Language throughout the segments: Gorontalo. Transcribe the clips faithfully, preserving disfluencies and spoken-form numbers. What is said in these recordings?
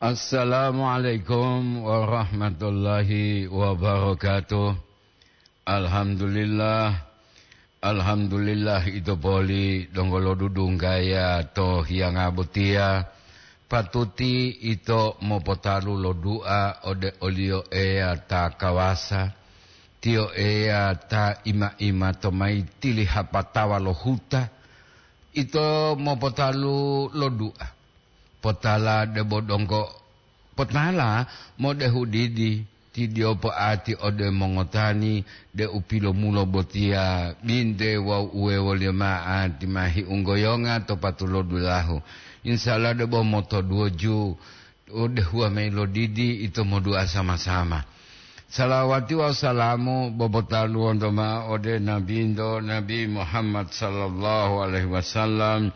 Assalamualaikum warahmatullahi wabarakatuh. Alhamdulillah. Alhamdulillah, ito poli donggo lodudunggaya to hiyanga botiya. Patuti ito mopotalu lo du'a ode oliyo Eya ta kawasa, tiyo Eya ta ima-ima to mayi tili hapatawa lo huta. Ito mopotalu lo du'a. Potala debo donggo, potala modehu didi, tidio poati ode mongotani deu pilomulo botiya binte wawu uwewoliyo mao ati ma hiunggoyonga to patulodulahu. Insya Allah debo motoduwoju, odehuwa mayi lo didi ito modu'a sama-sama. Salawati wawu salamu bobotaluwonto mao ode Nabinto, Nabi Muhammad sallallahu alaihi wasallam.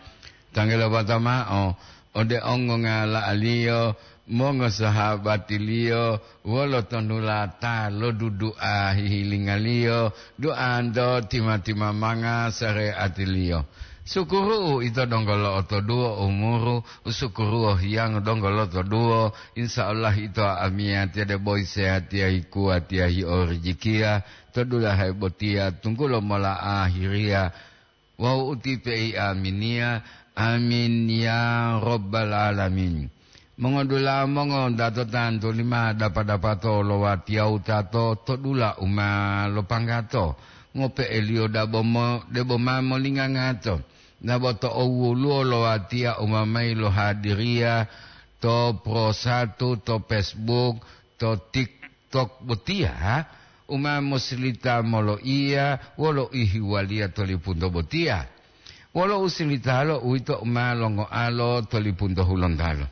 Tanggulo bata mao ode ongongala'aliyo, mongosahabatiliyo, wolo tonulata lo dudu'a hihilingaliyo, du'anto tima-timamanga sareatiliyo. Sukuru'u ito donggo lo'otoduwo umuru, usukuruwo hiyango donggo lotoduwo, insya Allah ito amiyatiya debo isehatiya hikuwatiya hiorijikiya to dulahe botiya tunggulo mola ahiriya. Wawu utipe i aminiya, amin ya rabbal alamin. Mongodula'a mongodato tantu lima dapa-dapato lo watiya wutato to dula u ma lopanggato, ngope'eliyo dabo mo-, debo ma molingangato, dabo to owuluwo lo watiya u ma mayi lohadiriya to Pro Satu, to Facebook, to TikTok botiya, u ma mosilita moloiya wolo ihiwaliya to lipunto botiya. Wolo usilitalo uwito u ma longoalo to lipunto Hulontalo.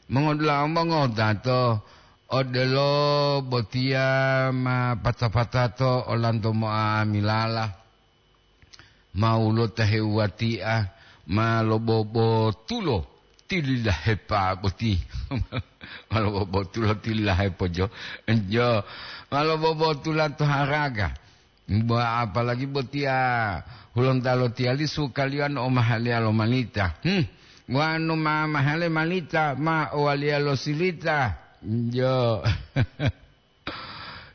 Mongodula'a mongodato, odelo botiya ma pata-patato olanto mo'amilala, ma wulotahewatiya, ma lobobotulo tililahepa boti. Ma lobobotulo tililahepo jo. Jo, ma lobobotula to haraga. Bo apalagi botiya Hulontalo tiyali sukaliyo wanu omahaliya lo malita. Hmm. Wanu ma mahale malita, ma owaliya lo silita. Jo.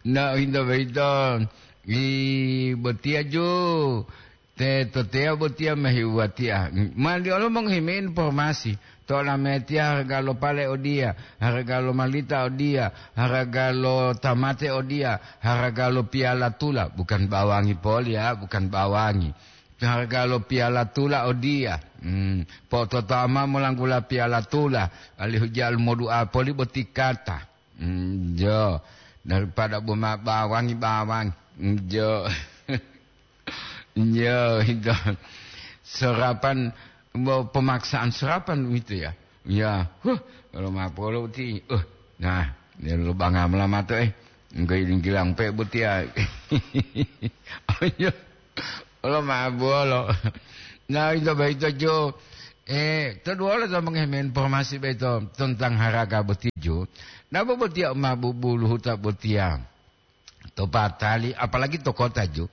Na hinto boyito, i botiya ju, te toteya botiya ma heuwatiya. Mali olo mongohi mayi informasi, to olametiya haraga lo pale odiya, haraga lo malita odiya, haraga lo tamate odiya, haraga lo piyala tula, bukan bawangi poli ya, bukan bawangi. Haraga lo piyala tula odiya. Hmm, po'ototoa mao molanggula piyala tula, alihu ja'alu modu'a poli boti kata. Mm, jo, daripada boma bawangi-bawangi. Mm, jo. Jo, itu. Serapan, bo-, pemaksaan serapan itu ya. Ya, huh, kalau mapolo ti, uh, nah, dia lubang amala mato, eh. Engko ini gilang pe botiya. Oh, iya. Olo ma bolo. Nah, ito boyito jo. Eh, to duwolo to mongohi mayi informasi boyito tentang haraga boti jo. Napa botiya u ma bubuluhuta botiya? To patali, apalagi to kota jo.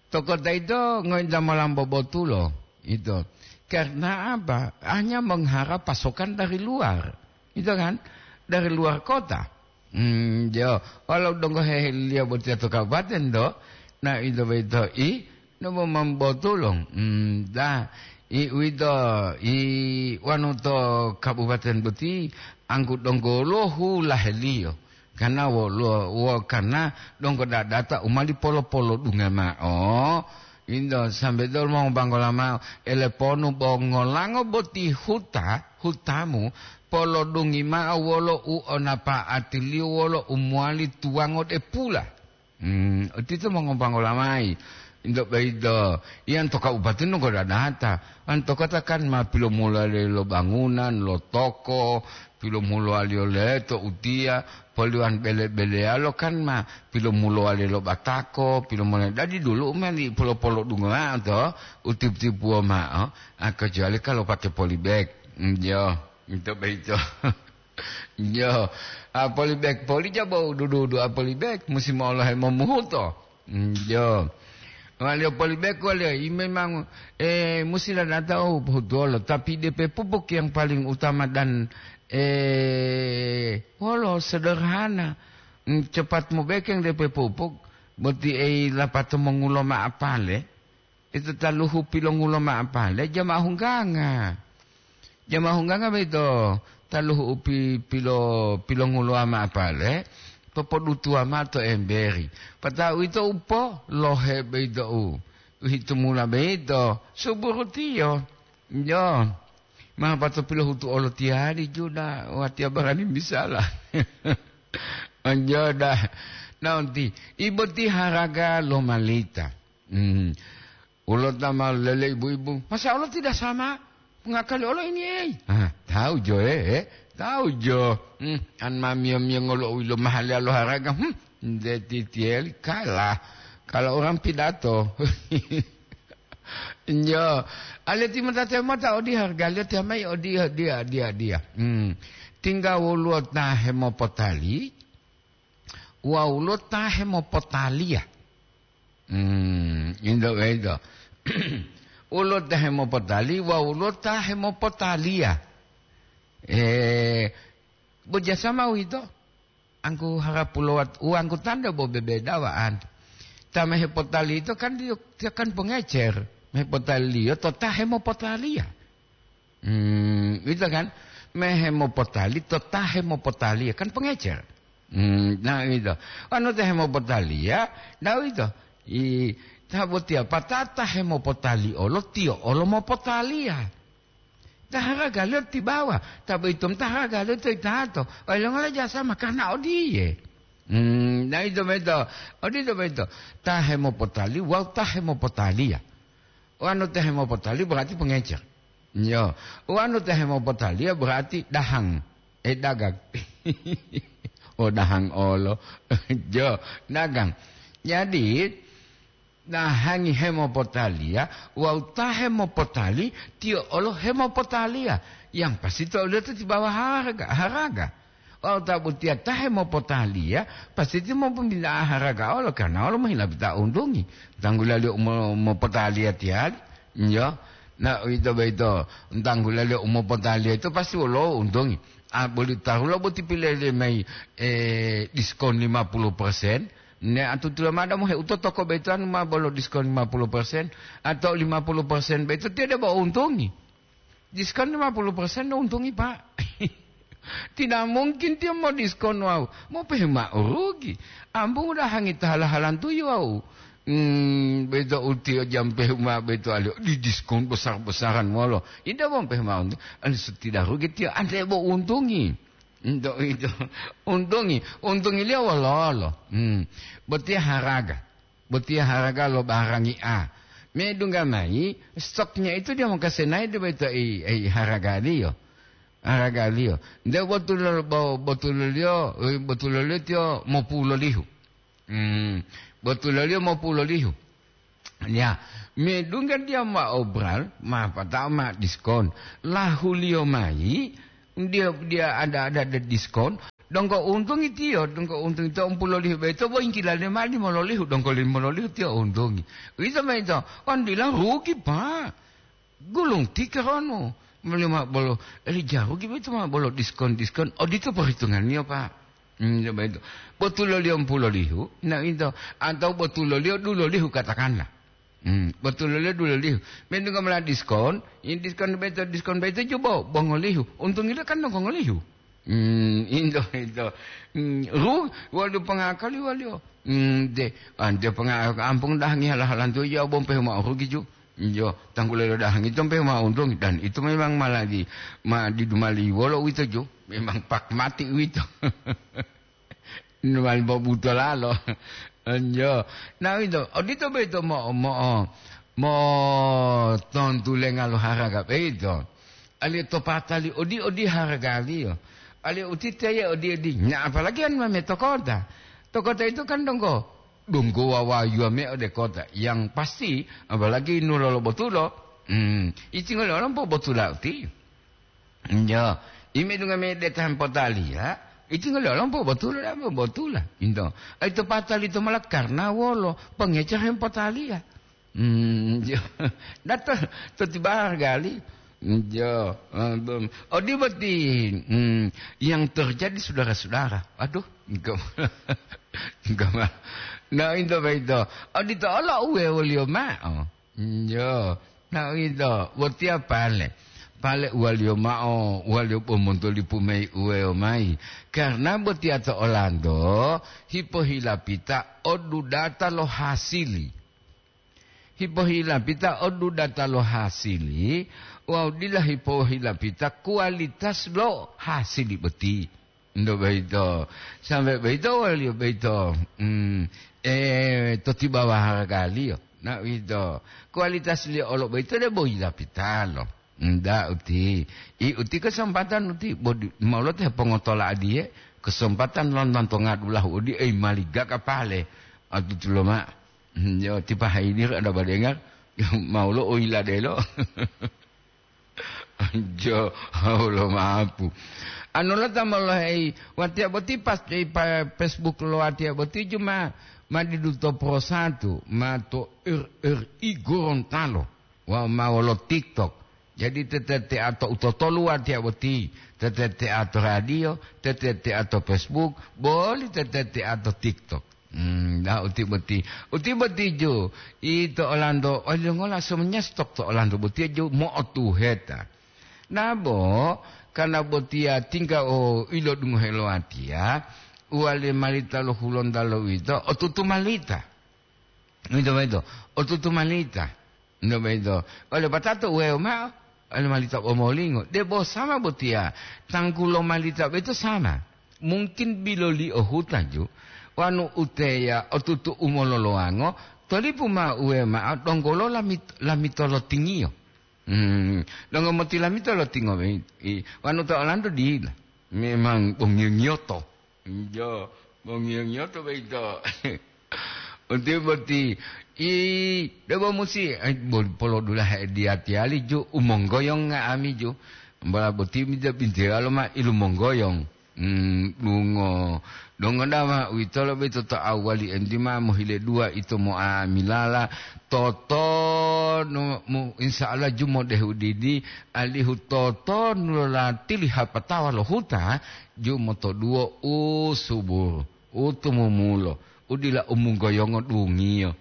To kota ito ngointa molambo botulo, ito. Karena apa? Hanya mengharap pasokan dari luar. Ito kan? Dari luar kota. Hmm, jo. Walau donggo heheliyo botiya to kabupaten do, na ito boyito i, nobo mambotulong. Hmm, da, i uwito, i wanu to kabupaten boti, anggu donggo lohu laheliyo. Karena wolo, wo karena donggo dadata u mali polo-polodunga mao. Indo sambe dol mongobanggola mao, eleponu bo ngolango boti huta, hutamu, polodungi mao wolo u onapa'atiliyo wolo u mowali tuwango de pula. Hmm, odito mongobanggola mayi. Indo boyito, iyan to kabupaten donggo dadata. An to kota kan ma pilomulali lo bangunan, lo toko, pilomulaliyo leto utiya, poliwan bele-beleyalo kan ma pilomulowali lo batako, pilomulowali. Dadi dulu u meli polo-polodungo mao to, u tipu-tipuwo mao, a, kecuali kalau pakai polybag. Njo, ito boyito. Njo, a, polybag poli jabo dudu-dudu a polybag, musi moolohe momuhuto. Njo. Waliyo polibeko waliyo, i memang, eh, musi ladata u pohutuwolo, tapi depe pupuk yang paling utama dan, eh, wolo sederhana. Mm, cepat mobekeng depe pupuk, boti ei lapato mongulo ma'apale, ito taluhu pilongulo ma'apale, jama hungganga. Jama hungganga boyito taluhu u pi-, pilo-, pilongulowa ma'apale, popodutuwa mao to emberi. Pata'u ito upo lohe boyito u, u hitumula boyito, suburutiyo. Jo, ma pato pilohutu olotiyali juda, watiya barani misala. Anjoda, naunti, iboti haraga lomalita. Hmm. Ulo ta ma lele ibu-ibu, "Masa Allah tidak sama mengakali Allah ini, ei?" Ah, tahu jo, eh, eh. Tahu jo. Hmm, an ma mio-mio ngolo wilo mahal ya lo haraga. Hmm, de titiel kalah. Kalau orang pidato. Nyo, ale timota-timota odi harga, lihat ya mai odi, odi, odi, odi. Hmm. Tinggal woluwo ta hemopotali, wawu lo ta hemopotaliya. Hmm, indo, indo. Ulo ta hemopotali wawu lo ta hemopotaliya. Eh, bo jasama uwito, angku harapulowat, uwangku tando bo bebeda wa'anto. Ta mehepotali ito kan diyo, tiyo kan pongecer. Mehepotaliyo to ta hemopotaliya. Hmm, gitu kan? Mehemopotali to ta hemopotaliya, kan pengecer. Hmm, nah, gitu. Anu ta hemopotaliya, nah, gitu. I, ta botiya patata hemopotali olo, tiyo olo mopotaliya. Ta haragaliyo tibawa, ta boyito ta haragaliyo to itato. Oilongola jasa makana odiye. Hmm, nah, itu beto. Odito beto. Ta hemopotali wawu ta hemopotaliya. Wanu ta hemopotali berarti pengecer. Yo, wanu ta hemopotaliya berarti dahang. Eh, dagang. Oh, dahang olo. Jo, dagang. Jadi, dahangi hemopotaliya, wawu ta hemopotali, tiyo olo hemopotaliya. Yang pasti to oliyo to tibawa haraga, haraga. Wawu ta botiya ta hemopotaliya, pasti tiyo mopominta'a haraga olo, karna olo mohila bita untungi. Tanggulaliyo umo-, mopotaliya tiyali, yo. Na, uwito boyito, tanggulaliyo umopotaliya yito pasti wolo untungi. A, boli tahulo boti pilele mayi, eh, diskon lima puluh persen. Ne atutula mada moheuto toko boyito anu ma bolo diskon lima puluh persen atau lima puluh persen boyito tiyo debo untungi. Diskon lima puluh persen do untungi, Pak. Tidak mungkin tiyo modiskon wawu mopehe mao rugi. Ambung udahangi ta hala-halantuyi wawu, hmm, boyito utiyo jampehu mao boyito aliyo didiskon besar-besaran wolo. Ida bo mopehe mao untu-, anu sutida rugi tiyo, ante bo untungi. Ento ito, untungi, untungiliyo wololo? Hmm, botiya haraga. Botiya haraga lo barangi A. Medungga mayi, stoknya itu dia mongkasenayi de boyito i, i haragaliyo. Haragaliyo. Nde botulo-, bo-, botuliyo, eh, botuliyo tiyo mopulolihu. Hmm, botuliyo mopulolihu. Ya, medungga dia ma obral, ma patao ma diskon. Lahuliyo mayi, dia, dia ada-ada de diskon, donggo untungi tiyo, donggo untungi tiyo umpulo lihu boyito, bo yinggilaliyo mao limololihu, donggo limololihu tiyo untungi. Uwito boyito, kan bilang rugi, Pak. Gulung tikehonu. Moli mao bolo, eli ja rugi boyito mao bolo diskon-diskon. Odito perhitunganniyo, Pak. Hmm, coba itu. Botuloliyo umpulo lihu, na uwito. Atau botuloliyo dulo lihu, katakanlah. Hmm, botuloliyo dulo lihu. Medungga mola diskon, in diskon boyito, diskon boyito jubo, bo ngolihu. Untungiliyo kan donggo ngolihu. Hmm, into, into. Hmm, ru-, waliyo pongakali waliyo. Hmm, de, ante ponga-, ampung dahangi hala-halanto, iya bo mpehu mao rugi ju. Iyo, tanggulelo dahangi to mpehu mao untung, dan itu memang ma lagi ma didumali wolo uwito ju. Memang pak mati uwito. Nuwali bobutolalo. Enjo. Na, uwito, odito boyito mo-, mo-, motontulenga lo haraga boyito. Aliyo to patali odi-odi haragaliyo. Aliyo utiteye odi-odi. Na, apalagi anu mame to kota. To kota itu kan donggo, donggo wawayuwa me ode kota. Yang pasti, apalagi nulolo botulo, hmm, itingole olompo botula uti. Njo, ime dunga me deta hempotaliya, iti ngoli olompo botula, dabo botula. Into, ai to patali to mola karna wolo, pengece hempotaliya. Hmm, jo. Dato to tibar gali. Jo, eh, bem. Odi boti, hmm, yang terjadi saudara-saudara. Aduh, enggak. Enggak mah. Nah, itu apa itu? Odi to olo uwe wolio ma'o. Jo. Nah, itu. Boti apa le? Pale uwaliyo ma'o, uwaliyo bo montolipu mayi uweyo mayi. Karena botiya to Olando, hipohilapita odudata lo hasili. Hipohilapita odudata lo hasili, wawu dila hipohilapita kualitas lo hasili boti. Ndo boyito, sambe boyito waliyo boyito, mm, eh, to tibawa haragaliyo. Na uwito, kualitasliyo olo boyito debo yilapitalo. Nda uti, i uti kesempatan uti, bodi, maulote pongotola adiye, kesempatan lonton tonga dulahu odi, ei, maliga kapale, atutulo ma. Hmm, yo, tipa haidi ada badengar, maulo o yiladelo. Jo, Allah maapu. Anu lo ta molohei, watiya boti pas, eh, pa Facebook lo watiya boti cuma ma didu to Pro Satu, ma to R R I Gorontalo, wa ma wolo TikTok. Jadi tete teato utotolu watiya boti, tete teato radio, tete teato Facebook, boli tete teato TikTok. Hmm, dah uti boti. Uti boti ju, ito Olando, olongola semuanya stok to Olando boti ju mo'otuheta. Nabo, karena botiya tingga o ilodungohe lo watiya, uwali malita lo Hulonda lo wito, otutu malita. Wito, wito, otutu malita. Ndo boyito, ole patato uwewo ma'o, ole malita omolingo, debo sama botiya, tanggulo malita boyito sama. Mungkin biloliyo hutaju, wanu uteya otutu umololowango, tolipu ma'o uwewo ma'o donggolo lamit-, lamitolotingiyo. Hmm, donggo motilamito lotingo, i, i, wanu to Olando dila. Memang bongiyo-ngiyoto. Jo, mongiyo-ngiyoto boyito. Uti boti, i, debo musi, ai, bo-, polodulahe diyatiyali ju, umonggoyong nga'ami ju. Mbola boti mida bintewalo ma ilumonggoyong. Hmm, dungo. Dongo dama, uwitolo boyito to awwali endi ma mohile dua ito mo'amilala. Totonu mu, insya Allah ju modehu didi, alihu totonu lolatili hapatawa lo huta, ju motoduwo u suburu, u tumumulo, u dila umunggoyongo dungiyo.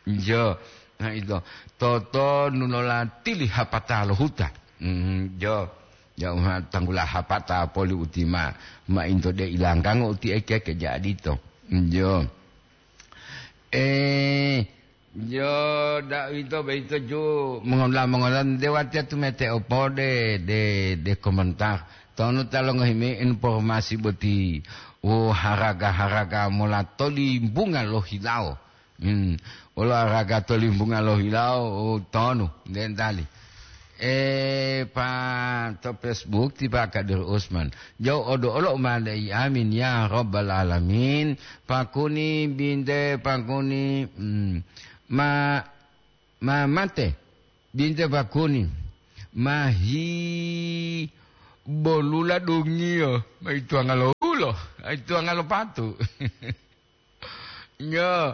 Jo, na ito, totonu lolatili hapata lo huta. Mm, jo, jo, ma tanggula hapata poli uti ma, ma into de ilanggango uti eke-eke jadi to. Jo. Eh, Yo, da'uwito boyito ju mongola-mongola nde watiya tumete opode de, de komentar. Tonu ta longohi mayi informasi boti. Wo haraga-haraga mola tolimbunga lohilawo. Hmm. Wolo haraga tolimbunga lohilawo, wo tonu, nde ntali. E, pa to Facebook ti Pak Kadir Usman. Jauh odo olo umale'i amin ya rabbal alamin. Pakuni binte pakuni, hmm. Ma, ma mate, binte pakuni, ma hi bolula dungiyo, ma ituwanga lo ulo, ituwanga lo patu. Nyo,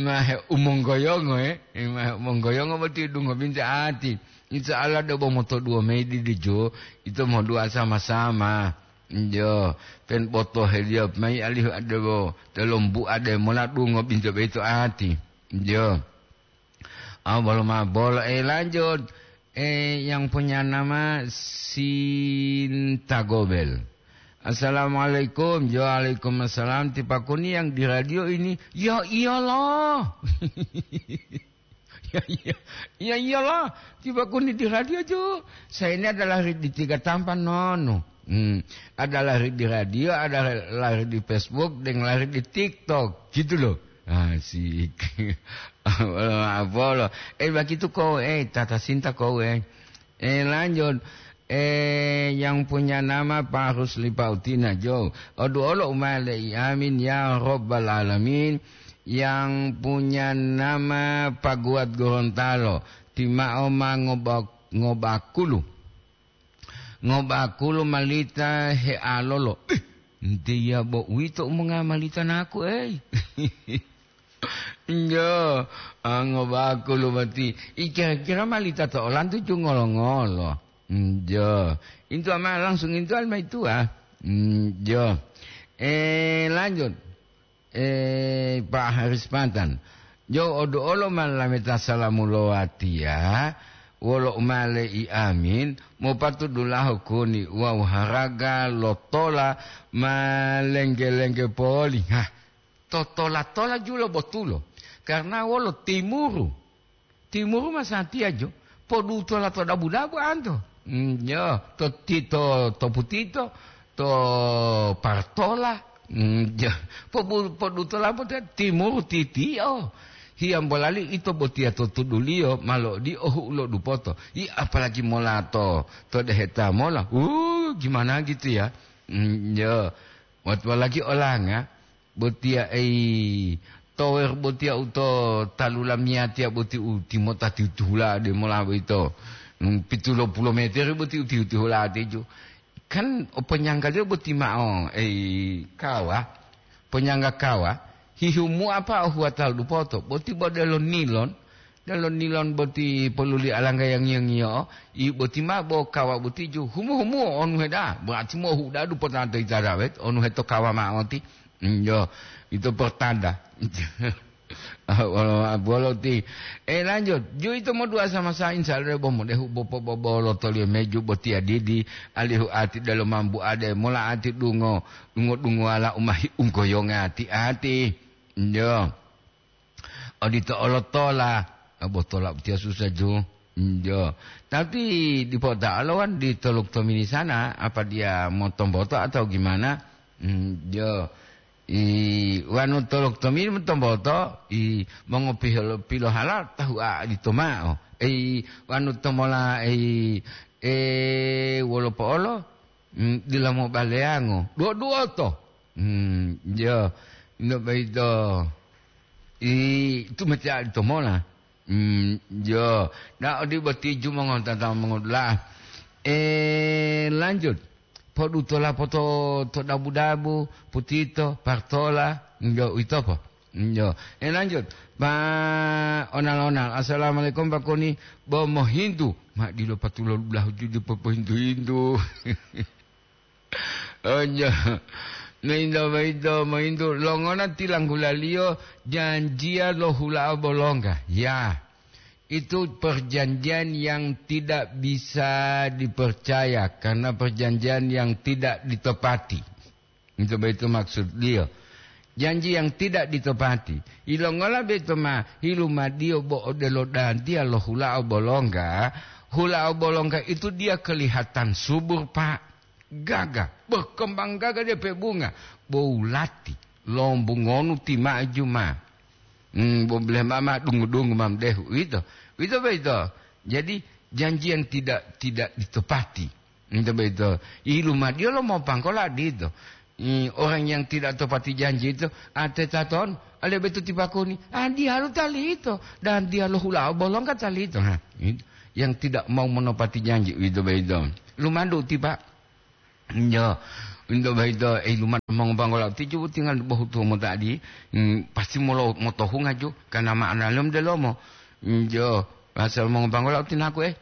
ma he umonggoyongo, eh, ma he umonggoyongo boti dungo binte ati. Insya Allah, dobo motoduwo mayi didijo, ito moduwa sama-sama. Njo, pen botoheliyo mayi alihu adebo, telombu ade mola dungo binte boyito ati. Njo. Ah, bolo ma bolo. Eh, lanjut. Eh, yang punya nama Sinta Gobel. Assalamualaikum. Jo, waalaikumsalam. Ti pakuni yang di radio ini? Ya iyalah. Ya, iya. Ya iyalah. Ti pakuni di radio, Jo. Saya ini adalah di Tiga Tampan, nono. Hmm. Ada lari di radio, ada lari di Facebook, dan lari di TikTok. Gitu loh. Asik. Apa lo? Eh, begitu kau, eh, tata cinta kau, eh. Eh, lanjut. Eh, yang punya nama Pak Rusli Pautina, Jo. Odu olo umale'i amin, ya Rabbal Alamin. Yang punya nama Pak Guat Gorontalo. Timao ma ngoba-, ngobakulu. Ngobakulu malita healolo. Ih, ntiya bo uwito u monga malita naku, ei. Njo, ango baku lumati. I kira-kira malita to olantu ju ngolo-ngolo. Njo. Intu ama langsung intu alma itu, ah. Njo. Eh, lanjut. Eh, Pak Haris Pantan. Jo odu olo ma lameta salamu lo watiya, wolo umale i amin, mopatu dulaho kuni wawu haraga lo tola ma lengge-lengge poli. Hah, to tola-tola julo botulo. Karena wolo timuru. Timuru masatiya jo, podutola to dabu-dabu anto. Mm, jo, to ti-, to, to putito, to partola. Mm, jo, pobu-, podutola pote timuru titio. Hiyambolali ito botiya to tuduliyo, malo di ohu ulo dupoto. I apalagi mola to, to deheta mola. Uh, gimana gitu ya? Mm, jo, wat-, apalagi olanga. Botiya ei tower botiya uto talu lamiyatiya boti utimota tihu-tihula de mola boyito. Hmm, pitulo pulo meter boti utihu-tihula teju. Kan o ponyangga liyo boti ma'o ei kawa, ponyangga kawa, hihumu apa o huwata dupoto, boti bo delo nilon, Delo nilon boti poluli alangga yang ngiyo-ngiyo, i boti ma bo kawa boti ju humu-humu onu heda, berarti mo huda du potanta itara wet, onu heto kawa ma oti. Njo, itu pertanda. Bolo ti. Eh, lanjut. Ju itu mo dua sama sa insya Allah bo mo dehu bo po bo bolo tolio meju boti adidi, alihu ati delo mambu ade, mola ati dungo, dungo-dungo ala umahi ungkoyonga ati-ati. Njo. Odito olo tola, eh, bo tola utiya susa ju. Njo. Tapi dipo ta'alo wan di toluk tomini sana, apa dia motomboto atau gimana? Njo. I, wanu toluk tomini motomboto, i, mongo piholo-, pilohala tahu a dito ma'o. Ei, wanu tomola, ei, e, wolo po'olo? Mm, dila mobaleyango. Duo-duoto. Mm, jo. Ino boyito. I, tumetiya ito mola. Mm, jo. Na odi boti ju mongontata mongodula'a. Eh, lanjut. Podutola poto to dabu-dabu, putito, partola, njo, uwito po. Njo. Eh, lanjut. Pa onal-onal. Assalamualaikum, Pak Koni. Bo mohintu. Ma dilo patulo dulahu ju dipo pohintu-hintu. Oh, iya. Mointo, mointo, mointo. Longona tilanggulaliyo janjiya lo hula'a bolongga? Ya, itu perjanjian yang tidak bisa dipercaya karena perjanjian yang tidak ditepati. Itu, itu maksudliyo. Janji yang tidak ditepati. Ilongola beto ma hilumadiyo bo odelo dantiya lo hula'a bolongga? Hula'a bolongga itu dia kelihatan subur, Pak. Gagah, berkembang gagah dia pe bunga. Bo wulati, lombungonu ti maju ma. Hmm, bo bileh mama dungu-dungu ma mdehu. Uwito. Uwito boyito. Jadi, janji yang tidak, tidak ditepati. Uwito boyito. Ilumadiyo lo mopangkola dito. Hmm, orang yang tidak tepati janji itu, ate taton, ale betu tipakuni. Ah, diyalu talito. Dan diyalu hula bolongka talito. Nah, itu. Yang tidak mau menepati janji, uwito boyito. Lumadu ti, Pak. Njo, into boyito, eh, lumadu mongobanggola tiju tinggal bohutu motadi, mm, pasti molo motohunga ju, karena ma'ana lom delomo. Njo, asal mongobanggola tinaku, eh.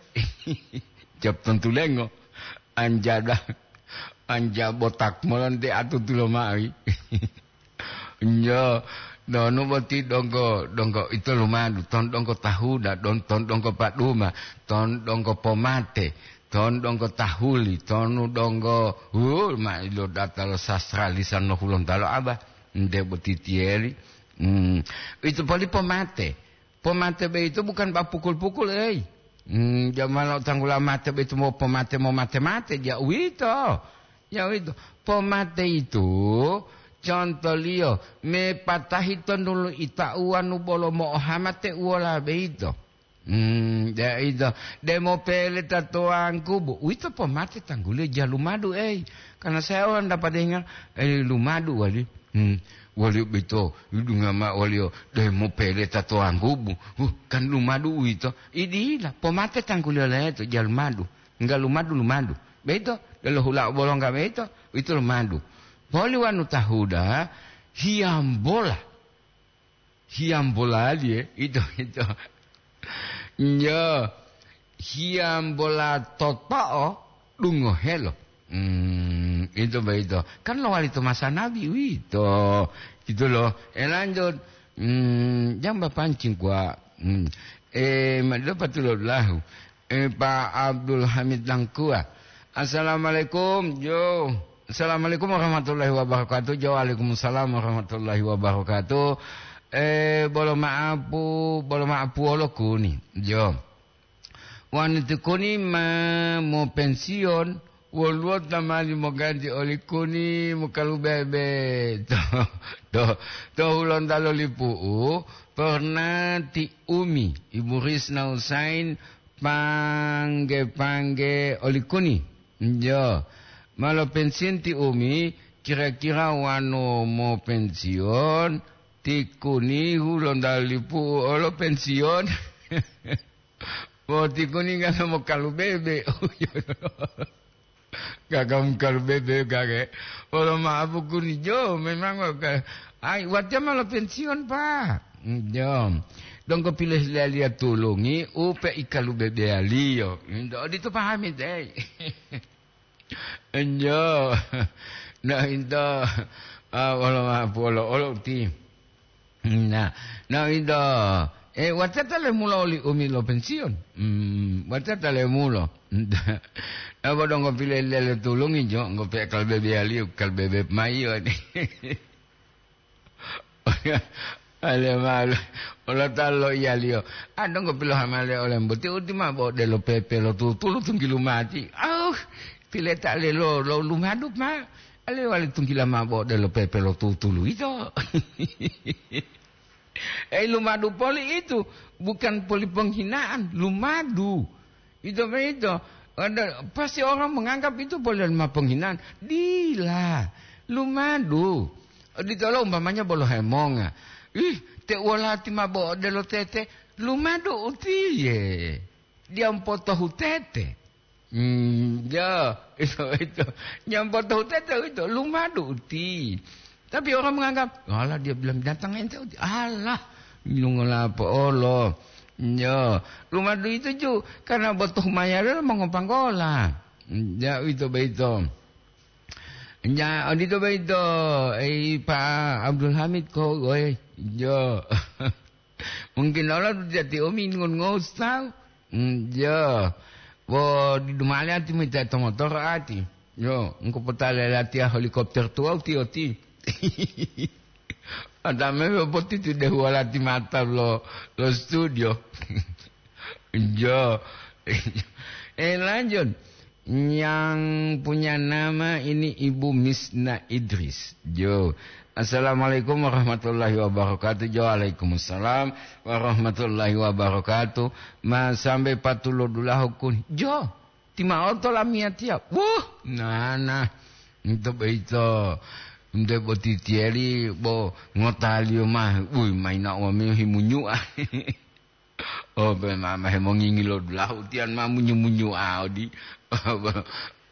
Jab tontulengo. Anjada, anja botak molonte atutulo mawi. Njo, donu boti donggo, donggo ito lumadu, ton donggo tahuda, don, ton donggo paduma, ton donggo pomate, ton donggo tahuli, tonu donggo, hu, ma ilo data lo sastra lisan lo Hulontalo aba, nde boti tiyeli. Hmm. Ito poli pomate. Pomate boyito bukan ba pukul-pukul, ei. Hmm, jaman lo tanggula mate boyito mo pomate, mo mate-mate, ja uwito. Ja uwito. Pomate itu, contoliyo, mepatahi tondulu ita'uwa nu bolo mo'ohamate uwola boyito. Hmm, ja uwito. Demo pele tatoangku, bu. Uwito pomate tangguliyo ja lumadu, ei. Karena saya orang dapat dengar, eh, lumadu wali. Hmm, waliyo boyito, yidunga mao waliyo, demo pele tatoangku, bu. Huh, kan lumadu uwito. Idila, pomate tangguliyo leto, ja lumadu. Enggak lumadu, lumadu. Boyito, delo hula bolongga boyito, uwito lumadu. Poli wanu tahuda, hiyambola. Hiyambolaliye, ito, ito. Nyo, hiyambola toto'o dungohelo. Hmm, ito boyito. Kan lowali to masa nabi uwito. Ito lo, e lanjut. Hmm, jamba pancing kuwa. Hmm. E, ma-, dapat lo lahu. E, Pak Abdul Hamid Langkua. Assalamualaikum, Jo. Assalamualaikum warahmatullahi wabarakatuh. Jo, waalaikumsalam warahmatullahi wabarakatuh. E, bolo ma'apu, bolo ma'apu wolo kuni. Jo. Wanu ti kuni ma mopensiyon, woluwo ta mali moganti oli kuni mokalubebe. To, to, to Hulontalo Lipu'u, pernah ti Umi, Ibu Risna Husain, pangge-pangge oli kuni. Jo, malo pensiyon ti Umi, kira-kira wanu mopensiyon, ti kuni Hulontalo Lipu'u olo pensiyon. Bo ti kuni ngana mokalubebe. Gaga mokalubebe gage. Olo ma'apu kuni Jo, memang ka-, ai, watiya ma lo pensiyon, Pak. Jo. Donggo pilohilayaliya tulungi, upe ikalubebeyaliyo. Ento odito pahami, dei. Enjo. Na ito, ah, wolo ma'apu olo, olo uti. Na, na ito, eh, watata le mulo oli umi lo pensiun. Hmm, watata le mulo. Apa dong ko pile lele tulungi jo, ngo pe kal bebe aliu, kal bebe mayo. Ale malu, olo ta loiyaliyo, a donggo pilohamale olembo, ti uti ma bo odelo pepe lo tutulu tunggilu mati. Au, pileta ale lo, lo lumadu ma, ale wali tunggila ma bo odelo pepe lo tutulu ito. Eh, lumadu poli itu, bukan poli penghinaan, lumadu. Ito boyito, ada, pasti orang menganggap itu polelma penghinaan. Dila, lumadu. Oditolo umpamanya bolo hemonga. Ih, te wolati ma bo odelo tete, lumadu utiye. Dia mpotohu tete. Hmm, ya, itu, itu. Dia mpotohu tete itu, lumadu uti. Tapi orang menganggap, "Alah, dia bilang binatang ente uti." Alah, lungola apa olo. Ya, lumadu itu ju, karena botoh mayarelo mongopanggola. Ya, itu beito. Ya, odito beito. Eh, Pak Abdul Hamid ko, oi. Ya. Mungkin olo jati omi ngon ngosau. Hmm, ya. Bo di dumale ati mita to motor ati. Yo, engko potale latiya helikopter tuwau tiyo ti. Adame boti tu dehu walati mata lo, lo studio. Jo. Eh, lanjut. Yang punya nama ini Ibu Misna Idris. Jo. Assalamualaikum warahmatullahi wabarakatuh. Jo, waalaikumsalam warahmatullahi wabarakatuh. Ma sampai patulo dulahu kun. Jo. Tima'o to lamiyatiya. Wuh, nana. Ento boyito. Nte boti tiyeli bo ngotaliyo ma. Wuy, mayina wamiyo himunyu'a. Oh, pe mama hemongingi lo dulahu tiyan ma munyu-munyu audi.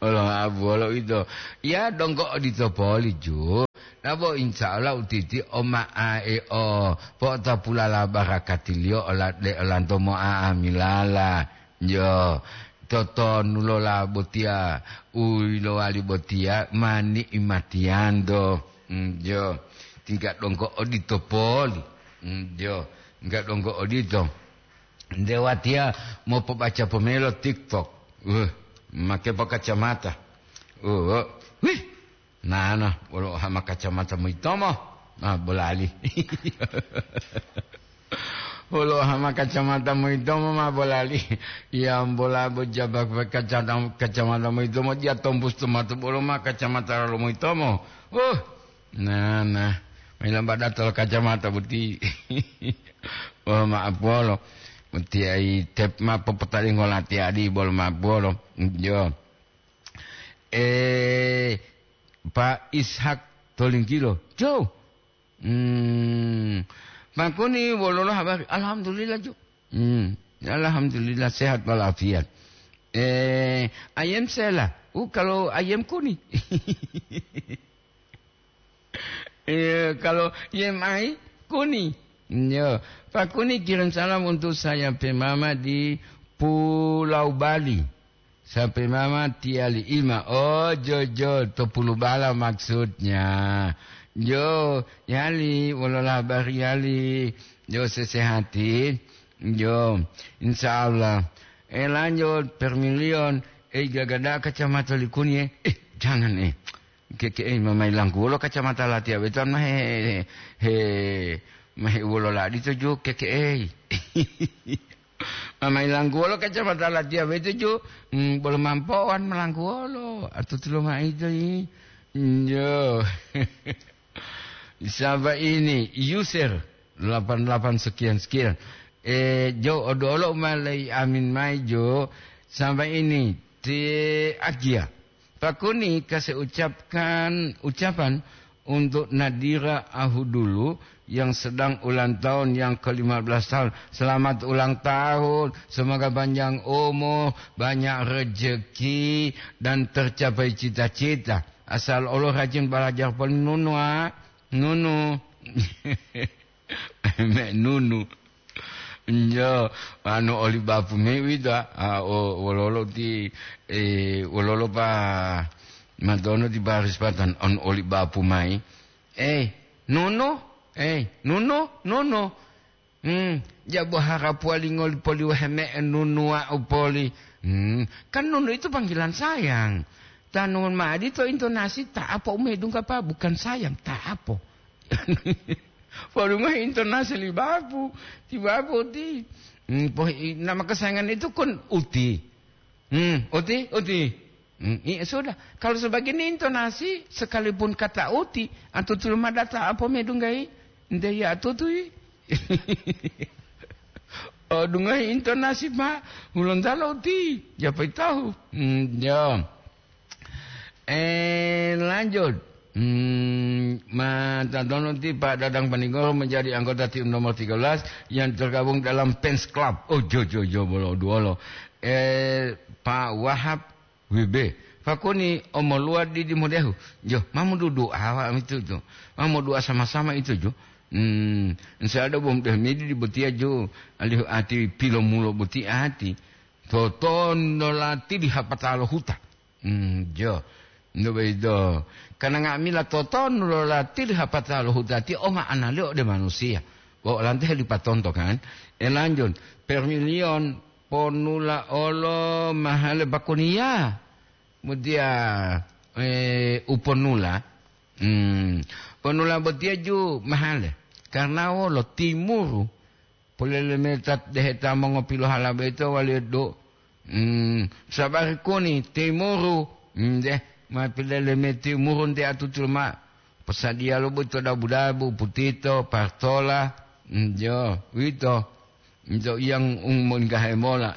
Olo abuwolo ito. Ya, donggo odito poli, Ju. Nabo insya Allah utiti o ma'ae o po'otopulala barakatiliyo ola-, de olanto mo'a'amilala. Yo, totonulola botiya, u yilowali botiya ma ni'imatiyanto. Mm, jo, tingga donggo odito poli. Mm, jo, tingga donggo odito. Nde watiya mopobaca pomelo TikTok. Uh, make po kacamata. Uh, wih, nana, wolo hama kacamata moyitomo. Ah, bolali. Wolo hama kacamata moyitomo ma bolali. Ya, bola bo jaba pe kacata-, kacamata moyitomo, dia tombus to mato bolo ma kacamata lalo moyitomo. Uh, Nah, nah. Mailamba dato lo kacamata boti. Oh, maaf wolo. Boti ai tep ma popotali ngolati adi bolo maaf wolo. Jo. Eh, Pak Ishak Tolingkilo. Jo. Hmm. Pak Kuni, wololo habari? Alhamdulillah, Jo. Hmm. Alhamdulillah sehat walafiat. Eh, ayam sela. Uh, kalau ayam Kuni. Iya, kalau yem ai, Kuni. Yo, pakuni kirim salam untuk saya pe mama di Pulau Bali. Sampai mama tiali ima. Oh, jojo, to Pulubala maksudnya. Yo, yali, wolola habari yali. Yo, sesehati. Yo, insya Allah. Eh, lanjut, Permilion. Eh, gagada kacamata likuni, eh. Eh, jangan, eh. Keke, eh, mamai langguwolo kacamata latiya beto, ma he, he, ma he wolola dito ju, keke, eh. Mamai langguwolo kacamata latiya beto ju, mm, bolo mampowan malangguwolo, atutulo maido yi. Yo. Saba ini, user delapan delapan sekian sekian. Eh, jo, odolo ma lei amin mai jo, saba ini, ti agia. Pakuni kasih ucapkan, ucapan untuk Nadira Ahudulu yang sedang ulang tahun yang ke lima belas tahun. Selamat ulang tahun, semoga panjang umur, banyak rezeki, dan tercapai cita-cita. Asal Allah rajin belajar poli nunu, ah. Nunu. Me nunu. Njo, anu oli bapu me wita, ah, o, wololo ti, eh, wololo pa matono ti baris patan on oli bapu mai. Eh, nono, eh, nono, nono. Hmm, jabo harapuwa lingoli poli wahe me nunu wa'u poli. Hmm, kan nunu itu panggilan sayang. Tanu ma'adi to intonasi ta'apo umedungga pa bukan sayang, ta'apo. Polu mayi intonasi li bapu, ti bapu ti. Hmm, pohi, nama kesayangan itu kun uti. Hmm, uti, uti. Hmm, iya sudah. Kalau sebagian intonasi, sekalipun kata uti, atutu lumada ta'apo medunggai, nde ya atutui. Oh, dungai intonasi, Pak. Hulontalo uti. Ya, pai tahu. Hmm, ya. Eh, lanjut. Hmm, mata dono ti Pak Dadang Panigoro menjadi anggota tim nomor tiga belas yang tergabung dalam fans club. Oh, jo, jo, jo, bolo, duolo. Eh, Pak Wahab W B. Fakoni omoluwa didi modehu. Jo, mamu dudu awa itu jo. Mamu dua sama-sama itu jo. Hmm, insya Allah bom deh midi di botia jo. Alihu ati pilomulo boti ati. Totondo lati di hapatalo huta. Hmm, jo. Ndo baido. Karena nga'amila totondo lo lati di hapatalo huta ti oma analio ode manusia. Bo lante helipatonto kan. E lanjut. Permilion ponula olo mahale bakuniya. Mudia, eh, uponula. Hmm. Ponula botia ju mahale. Karena wolo timuru. Polele meta deheta mongopilohala boyito waliyo do. Hmm, sabari kuni timuru. Hmm, deh, ma pilele me timuru nte atutu ma. Posadiya lo boyito dabu-dabu, putito, partola. Hmm, jo, wito. Nto yang umon gahe mola.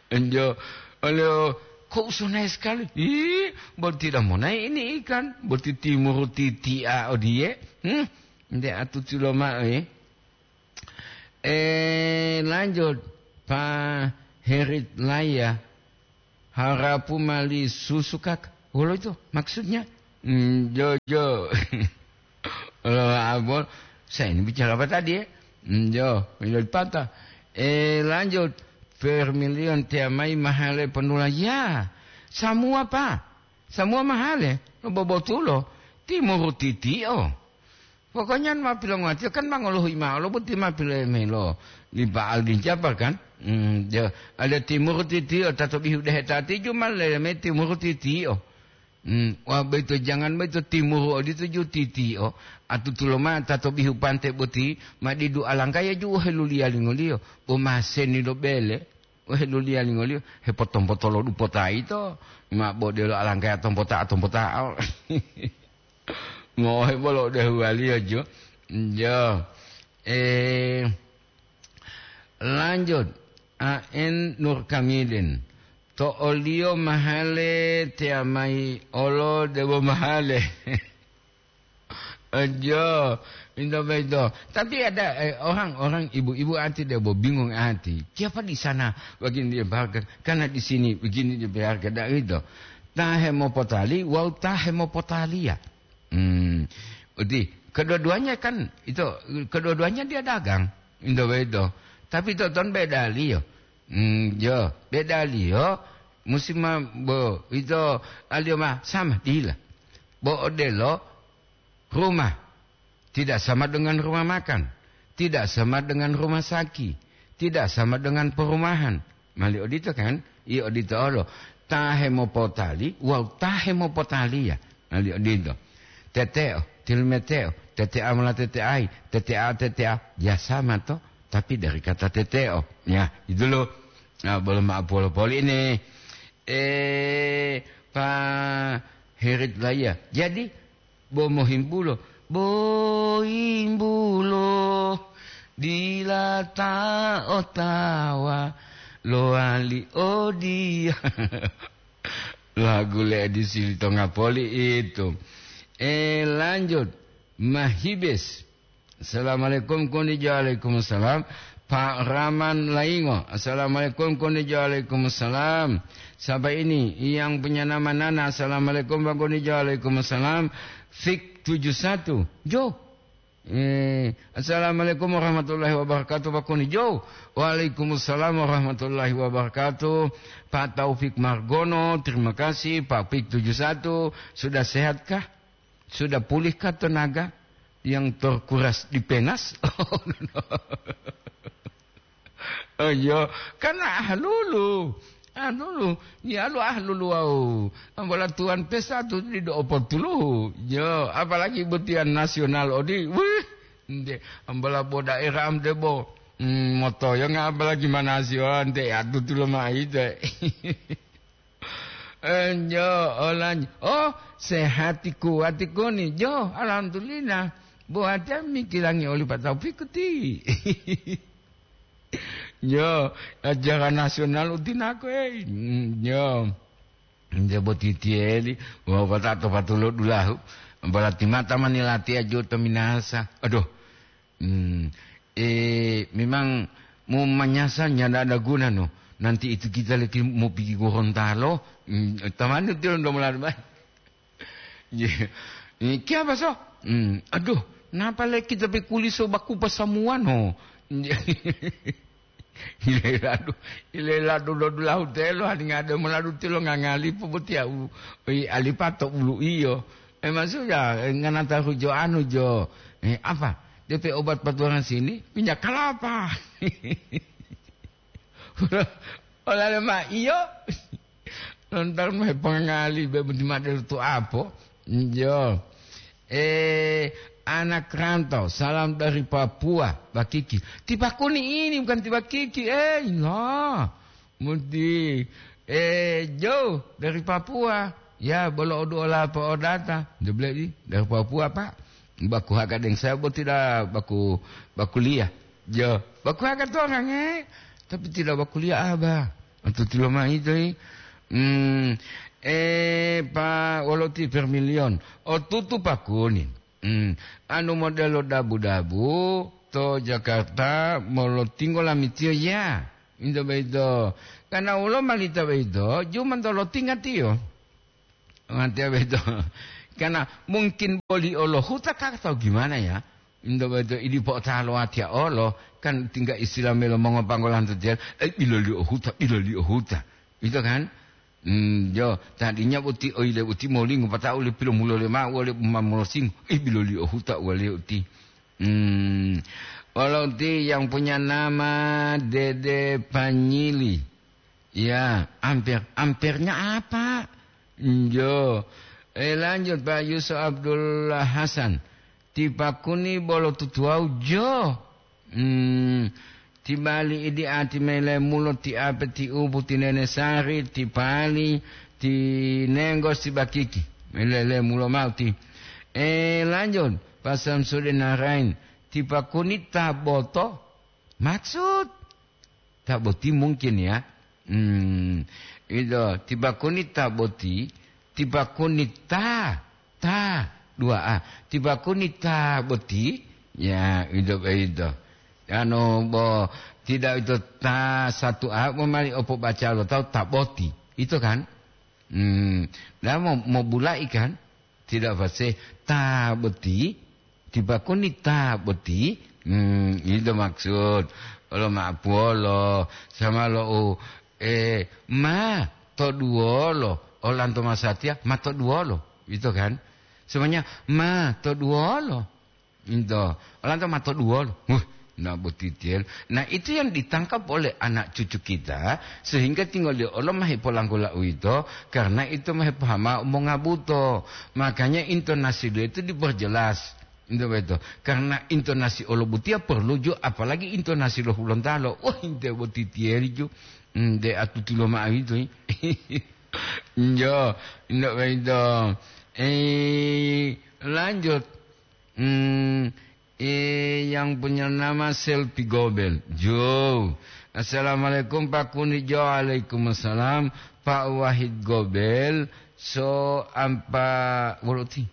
Enjo, oleo, kok usah naik sekali? Ih, berarti dah mau naik ini ikan. Berarti timuru titi'a odie. Hmm, nde atutu loma'o, eh. Eh, lanjut, Pak Herit Laya. Harapu mali susu, Kak. Wolo itu maksudnya? Hmm, jo, jo. Wolo abon. Saya ini bicara apa tadi, ya? Hmm, jo, wilo dipata. Eh, lanjut. Vermilion tiamai mahale penula. Ya, semua, Pak. Semua mahale. Lo bobotulo. Timuru titi'o. Pokoknya ma pilonguwatiyo kan ma ngolohuyi ma'o lo boti ma pilemelo li Pak Aldin Japar kan? Hmm, ja-, ada timuru titiyo, tato bihu dehe tati juma leme timuru titiyo. Hmm, wa boyito jangan boyito timuru odito ju titiyo, atutulo ma tato bihu pante boti ma didu alangkaya ju heluliya lingoliyo, bo maseni lo bele. Weh, luliya lingoliyo, hepotompoto lo dupota yito, ma bodelo alangkaya tompota-tompotao. Ngohe bolo dehuwaliyo jo. Jo. Eh, lanjut, A N Nur Kamidin. To oliyo mahale teyamayi olo debo mahale. Aja, minta begitu. Tapi ada, eh, orang-orang ibu-ibu ati dia bo bingung ati. Siapa di sana begini dia biarkan, karena di sini begini dia biarkan, dak gitu. Tahe mau potali, wau tahe mau potaliya. Hmm. Uti, Kedua-duanya kan itu, kedua-duanya dia dagang, ito boyito. Tapi toton bedaliyo. Hmm, yo, bedaliyo musi ma bo ito aliyo ma sama dila. Bo odelo rumah tidak sama dengan rumah makan, tidak sama dengan rumah saki, tidak sama dengan perumahan. Mali odito kan? Iya odito olo. Ta hemopotali wawu ta hemopotaliya. Mali odito. Teteo, tilmeteo, tetea mola teteai, tetea, tetea, ya sama to, tapi dari kata teteo. Ya, itu loh. Nah, boleh maaf polo-poli ini. Eh, Pak Herit Laya. Jadi, bo mohimbulo, bo himbulo, dila ta otawa, lowali odia. Lagu le edisi Litonga Poli itu. Eh, lanjut. Mahibes. Assalamualaikum, konijo. Waalaikumsalam. Pak Raman Laingo. Assalamualaikum, konijo. Waalaikumsalam. Siapa ini? Yang punya nama Nana. Assalamualaikum, Pak, konijo. Waalaikumsalam. Fik tujuh satu. Jo. Eh, assalamualaikum warahmatullahi wabarakatuh, Pak Koni. Jo. Waalaikumsalam warahmatullahi wabarakatuh. Pak Taufik Margono, terima kasih. Pak Fik tujuh satu, sudah sehatkah? Sudah pulihkah tenaga yang terkuras di penas? Oh, iya, kan ahlulu. Ahlulu, ya lu ahlulu wau. Ambola tuan pesta tu di do opotuluhu. Yo, apalagi butian nasional odi. Wih, nde, ambola bo daerah am debo. Hmm, motoyonga apalagi manasio, nte atutu lo maite. Enjo, olanjo. Oh, sehati kuati koni. Jo, alhamdulillah. Buat jami kilangi oli Pak Taufik kuti. Jo, acara nasional utinako, eh. Mm, jo. Nde boti tieli, wa watato patulo dulahu. Berarti mata manilati ajo to minasa. Aduh. Hmm. Eh, memang mau manyasa nyanda ada guna, no. Nanti itu kita lagi mau pergi Gorontalo. Hmm, tamani tiyo ndo mulai. Iya. Ini kiapa, so? Hmm, aduh, napa leki tapi kuliso baku pasamuan, ho? Ileladu, ileladu do dulahu telo, halinga de moladu tilo ngangalipu boti au, oi, alipato ulu iyo. Eh, maksudnya, eh, nganata hujo anu jo. Eh, apa? D P obat patuangan sini, minyak kelapa. Olale ma iyo. Lontar ma hepongali be budi madel tu apo. Iyo. Eh, anak rantau, salam dari Papua, Bakiki. Tiba Kuni ini bukan Tiba Kiki, eh, iya. Muti, eh, jauh dari Papua. Ya, bolo odu ola po odata. Dia bilang, "Ih, dari Papua, Pak." Baku haga deng saya bo tidak baku, baku liah. Jo, baku haga tu orang, eh. Tapi tidak baku liah, Abah. Atau tidak mah itu, eh. Hmm, eh, Pak Woloti Vermilion. Oh, tutu Pak Kuning. Hmm, anu modelo dabu-dabu to Jakarta molotingo lamitiyo ya. Into boyito. Karena wolo malita boyito, jumantolo tingatiyo. Matiya boyito. Karena mungkin boli olo huta ka atau gimana ya? Into boyito idi po'otalo watiya olo, kan tingga istilah melo mongopanggolan to tiyan, eh, biloli o huta, biloli o huta. Itu kan? Hmm, jo, tadinya boti oile boti molingo pata'u le pilomulo le ma'u wole umamolosingo. Eh, biloli o huta wale uti. Hmm, wolo uti yang punya nama Dede Panyili. Ya, amper, ampernya apa? Jo. Eh, lanjut, Pak Yusuf Abdullah Hasan. Ti Pakuni bolo tutuwau jo. Hmm, ti bali idi ati mele mulo ti ape ti upu ti nene sari, ti pali, ti nenggos ti bakiki. Melele mulo ma'u ti. Eh, lanjut, Pak Samsudin Narain. Ti Pakuni ta boto. Maksud? Ta boti mungkin ya. Hmm, itu, ti Pakuni ta boti, ti Pakuni ta, ta, dua A. Ti Pakuni ta boti, ya, itu, itu. Anu, bo, tidak itu ta satu A, bo mali opo baca lo tahu ta boti. Itu kan? Hmm, dah mau, mau bulai kan? Tidak fasih. Ta boti, Ti pakuni ta boti, hmm, ito maksud. Olo ma'apuwolo, sama lo u, eh, ma to duwolo, olanto masatiya, ma to duwolo. Ito kan? Semuanya, ma to duwolo. Ito, olanto ma to duwolo. Huh, na boti tiyen. Nah, itu yang ditangkap oleh anak cucu kita, sehingga tinggal di Allah ma hipolangkula uwito, karena itu ma hipohama mongabuto. Makanya intonasi dia itu diperjelas. Ento boyito. Karena intonasi olo botiya perlu ju, apalagi intonasi lo Hulontalo. Wah, inte boti tiyeri ju. Hmm, de atuti lo ma'o yito, yi. Jo, ento boyito. Eh, lanjut. Hmm, eh, yang punya nama Selfie Gobel. Jo. Assalamualaikum, Pak Kuni. Jo, waalaikumsalam. Pak Wahid Gobel, so ampa, wolo ti?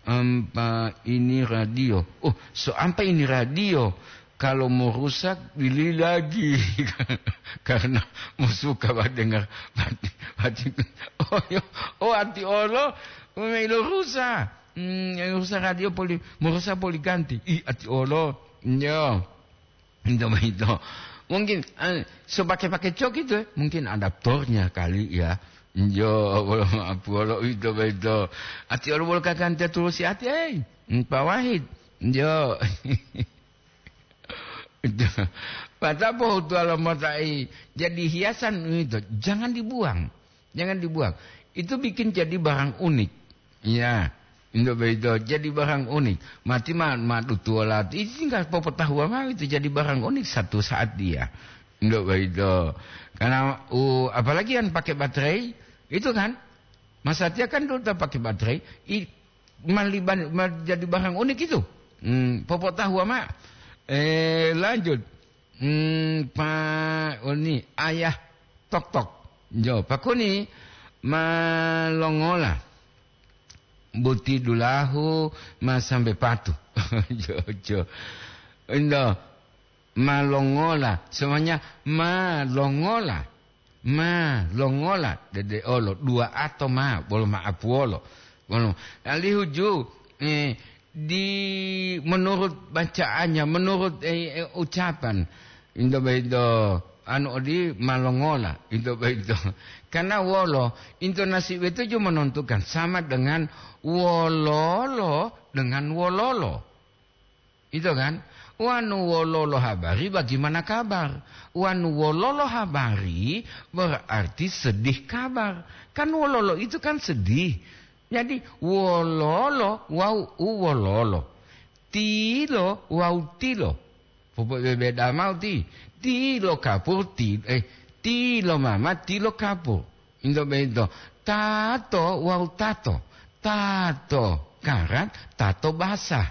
Ampa ini radio. Oh, so ampa ini radio. Kalau mau rusak, beli lagi. Karena mau suka banget dengar. Mati, mati. Oh, yo. Oh, ati olo. Oh, melo rusak. Hmm, yang rusak radio poli, mau rusak poli ganti. Ih, ati olo. Yo. Itu begitu. Mungkin, eh, so pakai-pakai cok itu, eh. Mungkin adaptornya kali ya. Yo, wolo maaf, wolo itu begitu. Ati olo bolo kakan teturusi ati, eh. Hmm, Pak Wahid. Yo. Itu. Mata pohutuwa lo motai jadi hiasan itu. Jangan dibuang. Jangan dibuang. Itu bikin jadi barang unik. Ya, untuk begitu. Jadi barang unik. Mati ma, ma dutuwola. Itu tinggal popotahuwa mao itu jadi barang unik satu saat dia. Untuk begitu. Karena, uh, apalagi yang pakai baterai, itu kan. Masatiya kan dulu tak pakai baterai. I, maliban, ma, jadi barang unik itu. Hmm, popotahuwa ma. Eh, lanjut. Hmm, Pak Oni, ayah tok-tok. Jo, Pak Kuni, ma longola. Buti dulahu, ma sampai patu. Jo, jo. Indo, ma longola. Semuanya, ma longola. Ma longola. Dede olo, dua ato ma, bolo ma apuwolo. Bolo, alihu ju, eh, di menurut bacaannya, menurut, eh, eh, ucapan, into beito, anu odi ma longola, into beito. Karena wolo, intonasi beito ju menentukan sama dengan wololo dengan wololo. Itu kan? Wanu wololo habari, bagaimana kabar? Wanu wololo habari, berarti sedih kabar. Kan wololo itu kan sedih. Jadi, wololo wau u wololo. Tilo wau tilo. Popo bebeda mau ti. Tilo kapur, ti, eh, tilo mama, tilo kapur. Into beito. Tato wau tato. Tato karat, tato basah.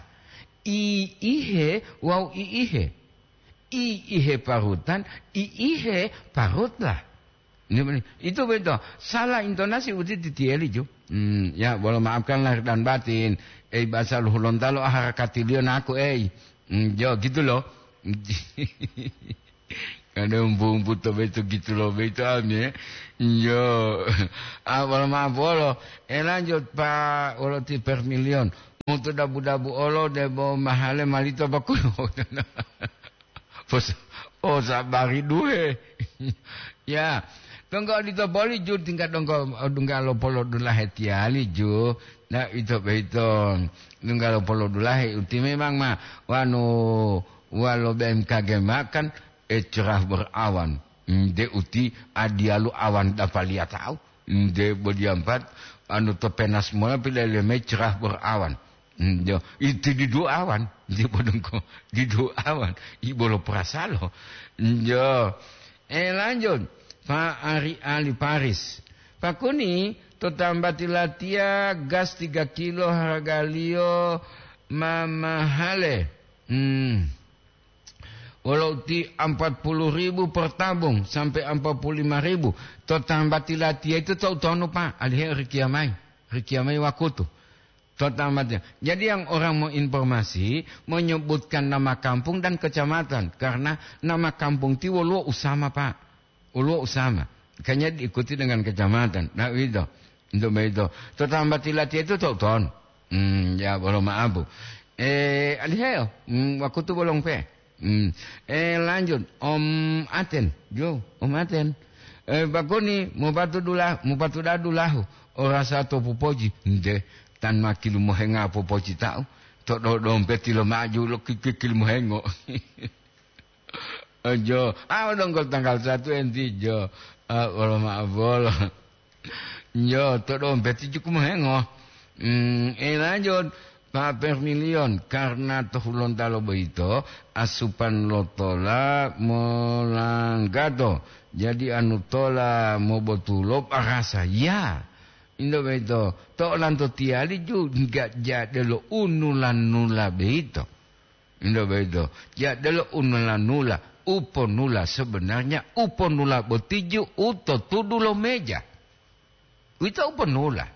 Iihe wau iihe. Iihe parutan, iihe parutlah. Ini benar. Itu betul. Salah intonasi uti titieli ju. Hmm, ya, boleh maafkan lahir dan batin. Eh, bahasa Luhulontalo, ah, harakati liyo naku, eh. Hmm, jo, gitu loh. Ada umbu-umbu to beto gitu loh, beto ami, eh. Jo. Ah, boleh maaf, bolo. Eh, lanjut, Pak, wolo ti per milion. Mutu dabu-dabu olo, debo mahale malito bakulo. Pos-, oh, sabari duhe. Ya, tonggo odito boli ju tingkat donggo, dungga lo polo dulahe tiali ju. Nah, ito beito, dungga lo polo dulahe uti memang ma, wanu, walo B M K G makan, eh, cerah berawan. Nde uti adialu awan dapaliya tahu. Nde bodiampat, anu to penas mola pilele me cerah berawan. Hmm, jo, iti didu awan, di bodongko, didu awan, ibolo perasalo. Hmm, jo. Eh, lanjut, Pak Ari Ali Paris. Pak Kuni, to tambati latiya gas tiga kilo hargaliyo mamahale. Hmm. Wolo uti empat puluh ribu per tabung sampai empat puluh lima ribu. To tambati latiya itu to utonu, Pak. Alihe rikiya mai. Rikiya mai wakutu. Total matiya. Jadi yang orang mau informasi, menyebutkan nama kampung dan kecamatan, karena nama kampung ti woluwo usama, Pak. Woluwo usama. Kayaknya diikuti dengan kecamatan. Nah, itu. Untuk begitu. Total mati latihan itu tahu ton. Hmm, ya, belum maaf, Bu. Eh, aliheyo, mm, wakutu bolong pe. Mm. Eh, lanjut, Om Aten, jo, Om Aten. Eh, bakoni, mupatu dula-, mupatu dadulahu, orasa to pupoji, nde, tan makilu mohenga pupoji tau, to do dompeti lo maju lo kikikil mohengo. Ojo, ah, donggo tanggal satu enti jo, ah, wolo maaf wolo. Yo, to dompeti cukup mohengo. Hmm, eh, lanjut, Pak Permilion, karena to hulontalo boyito, asupan lo tola molanggato. Jadi anu tola mobotulo parasa. Ya, indo boyito, to olanto tiyali ju, enggak jadelo unula-nula boyito. Indo boyito, jadelo unula-nula, uponula sebenarnya uponula boti ju u to tudu lo meja. Uwito uponula.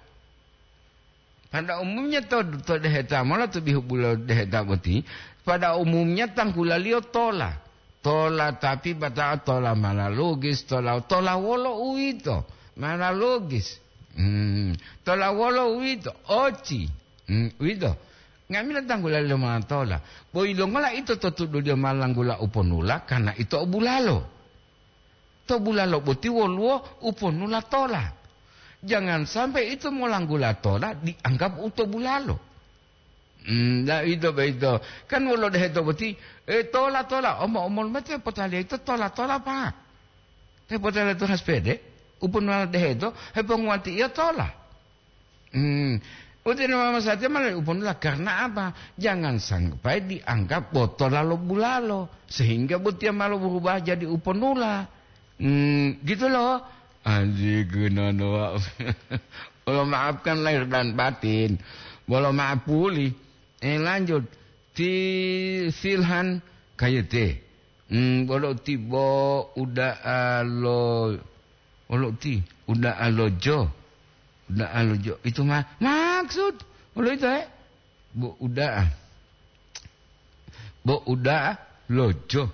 Pada umumnya to, to deheta mola to bihu bulo deheta boti, pada umumnya tangkulaliyo tola. Tola tapi batao tola malalugis, tola, tola wolo uwito? Malalugis. Hmm, tola wolo uwito? Oci. Hmm, uwito. Nga'amila tanggulali lo matola. Bo yilongola ito to tuduliyo malanggula uponula, karena ito o bulalo. To bulalo boti woluwo uponula tola. Jangan sampai ito molanggula tola dianggap u to bulalo. Hmm, la ito boyito. Kan wolo deheto boti, eh, tola, tola. Omo-omolu mate potaliya ito tola, tola, Pak. Te potaliya to haspede, uponula deheto, heponguwati iyo tola. Hmm. Utinu mama satia malah uponula karena apa? Jangan sampai dianggap botola lo bulalo, sehingga botiya malah berubah jadi uponula. Hmm, gitu loh. Anji gunana, Pak. Bolo maafkan lahir dan batin. Bolo maaf pulih. Eh, lanjut. Ti Silhan kayete. Hmm, bolo ti bo uda'a lo, bolo ti uda'a lo jo. Uda'a lo jo. Itu ma-, maksud. Bolo itu, eh? Bo uda'a. Bo uda'a lo jo.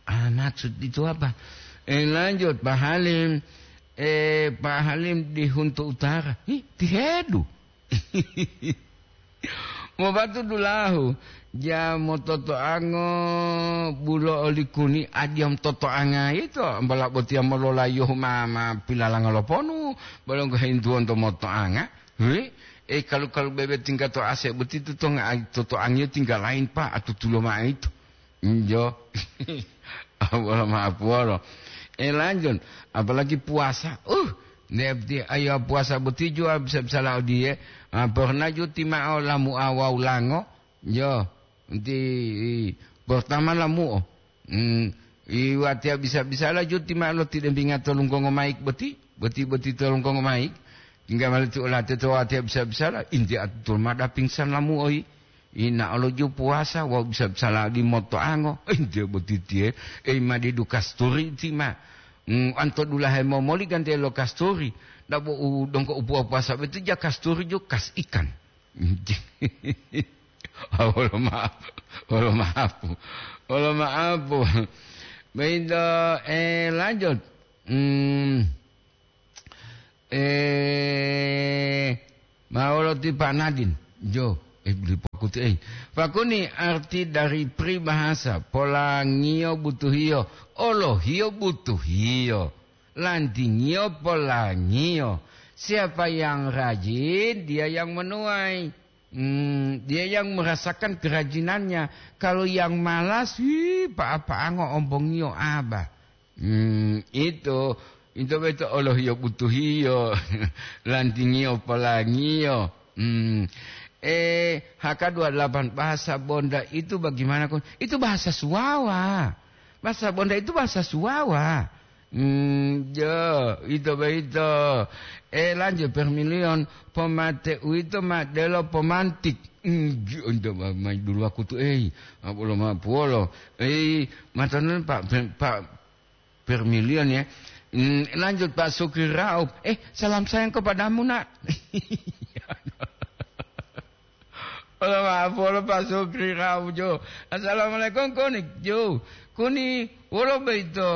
Ah, maksud itu apa? Eh, lanjut, Pak Halim. Eh, Pak Halim di Huntu Utara. Ih, tihedu. Mobatu dulahu, ja mototoango bulo olikuni, adiya mototoanga ito, mbala botiya mololayohu ma, ma pilalanga loponu, balonggo hintuwonto motoanga. Wi, e kalu-kalu bebe tingga to ase boti tu tonga ai totoangiyo tingga lain, Pak, atutulo ma'o ito. Injo. Wolo maaf wolo. Eh, lanjut. Apalagi puasa. Uh, nepti ayo puasa boti jua bisa-bisa la odiye. Ah, pernah juti ma'o lamu'a wawu lango. Yo, nti pertama lamu'o. Hmm, i watiya bisa-bisa la juti ma'o lo tidembinga tolungkongo maik boti. Boti-boti tolungkongo maik. Tingga mali ti olate to watiya bisa-bisa la. Inti atutul mada pingsan lamu'o yi. Ina olo ju puasa wawu bisa-bisa ladi motoango. Entiye botitiye, ei madidu kasturi ti ma. Mm, anto dulahe momoli gante lo kasturi. Dabo u dongko u puwa-puwasa betu ja kasturi ju kas ikan. Ah, wolo maaf. Wolo maaf. Wolo maaf. Begitu, eh, lanjut. Hmm. Eh, ma wolo ti Pak Nadin? Jo, eh, beli pokutu, eh. Pakuni arti dari peribahasa, "Polangiyo butuhiyo, olohiyo butuhiyo, lantingiyo polangiyo. Siapa yang rajin, dia yang menuai. Hmm, dia yang merasakan kerajinannya. Kalau yang malas, hi, pa-, paango ombongiyo aba." Hmm, itu, itu beto olohiyo butuhiyo, lantingiyo polangiyo. Hmm. Eh, H K dua delapan, bahasa Bonda itu bagaimana, Kon? Itu bahasa Suwawa. Bahasa Bonda itu bahasa Suwawa. Hmm, jo, ito boyito. Eh, lanjut, Permilion, pomate uwito ma delo pomantik. Hmm, jo, ento ma-, mayi dulu wakutu, eh. Apolo ma puwolo. Eh, matonan Pak, Pak Permilion ya. Hmm, lanjut, Pak Sukri Raup. Eh, salam sayang kepadamu, Nak. Wolo maaf, wolo Pak Sukri Raup, jo. Assalamualaikum, Koni, jo. Koni, wolo boyito.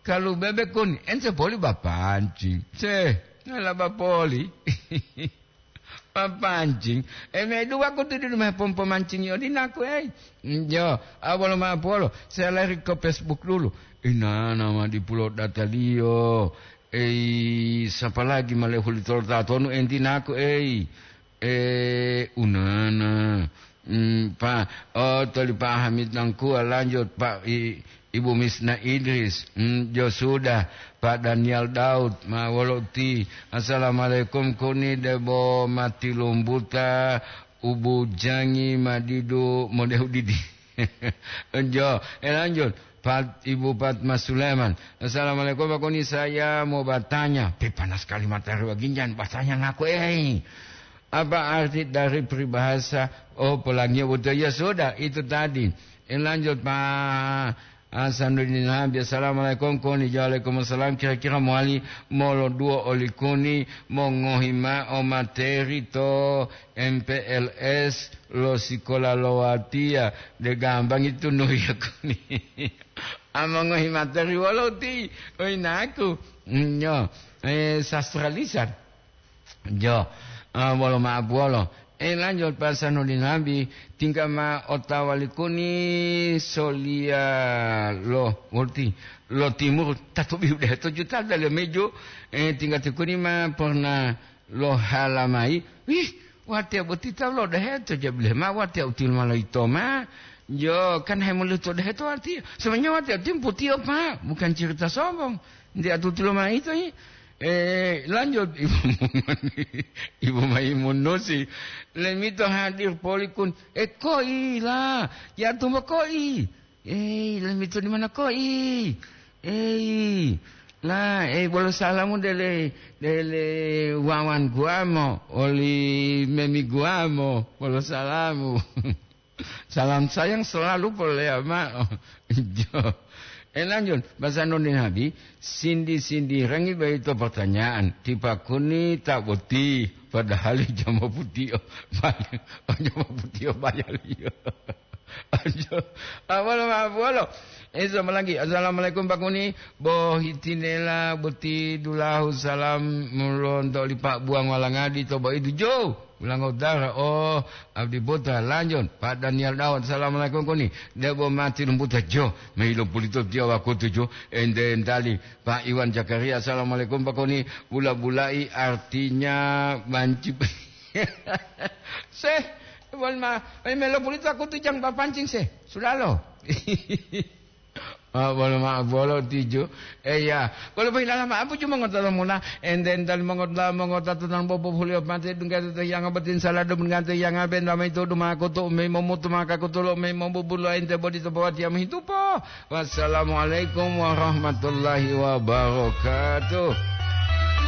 Kalu bebe Koni, ente poli bapanci. Se, ngala bapoli. Papancing. E, me dua kutu di rumah pompo mancing yo dinaku, ei. Mm, yo, awalo ma polo. Saya lari ke Facebook dulu. Inana ma dipulo dataliyo. Ei, sapa lagi male hulitolo tatonu entinaku, ei. E, unana. Mm, pa, oh, toli Pak Hamid Nangkua, lanjut, Pak I-, Ibu Misna Idris. Mm, jo sudah, Pak Daniel Daud, ma wolo ti. Assalamualaikum, kuni debo mati lumbuta, ubu jangi madidu modehu didi. Jo, e, lanjut, Pat-, Ibu Fatma Sulaiman. Assalamualaikum, Pak Kuni, saya mau bertanya. Pi panas sekali matahari waginjan, bahasanya ngaku, eh. Apa arti dari peribahasa, oh, pelangi buta? Ya sudah, itu tadi. Eh, lanjut, Pak Hasanuddin Habib. Assalamualaikum, Kuni. Waalaikumsalam. Kira-kira mowali moloduwo oli Kuni mongohi ma'o materi to M P L S lo sikola lo watiya, de gambangi tunuhiyo Kuni. A mongohi materi wolo ti, oyinaku. Nyo, eh, sastra lisan. Jo, ah, wolo ma'apu wolo. Eh, lanjut, Pak Sanudin Nabi, tingga ma otawa li Kuni soliya lo, wolo ti, lo timur, tatobi udah to juta dale mejo, eh, tingga ti Kuni ma pernah lo halamai, wih, watiya boti tawu lo deheto, jabile ma watiya util ma loyito ma. Jo, kan hemoluto deheto watiya. Sebenarnya watiya util putiyo, Pak, bukan cerita sombong. Ndi atutulo ma ito, i? Eh, lanjut, Ibu Maimun-, Ibu Maimunusi. Lemito hadir polikun. Eh, koi la. Ya tumbo koi. Ei, lamito di mana koi? Ei, la, ei, bolo salamu dele, dele wawan guamo, oli memi guamo, bolo salamu. Salam sayang selalu polea ma'o. Jo. Eh, lanjut, bahasa Noni Nabi, sindi-sindi rangi baito pertanyaan, tipakuni tak boti, padahal jama putio, jama putio bayaliyo. Ajo, awalo ma'apuwalo. Eso malanggi. Assalamualaikum, Pak Kuni. Bo hitinela boti dulahu salam lonto oli Pak Buang Walangadi to Baidu Jo. Ulango dara, oh, abdi buta lanjut. Pak Daniel Daud, assalamualaikum, Kuni. Debo mati lumbuta Jo. Mailo pulito tiyo wakutu Jo. Ente entali Pak Iwan Zakaria, assalamualaikum, Pak Kuni. Bula-bulai artinya banci. Seh, wal ma, eh, melo pulito aku tu jang papancing seh. Sudalo. Ah, bolo ma, bolo tiju. Eh, ya. Bolo pohilala ma, apu cuma ngota muna. Enten tal mongota, mongota tu nang bobo hulio mate dungga tu yang abatin salah dum ngante yang aben ramai tu duma aku tu me momutu maka aku tu lo me mobubulo ente bodi tu bawat yang hitupo. Wassalamualaikum warahmatullahi wabarakatuh.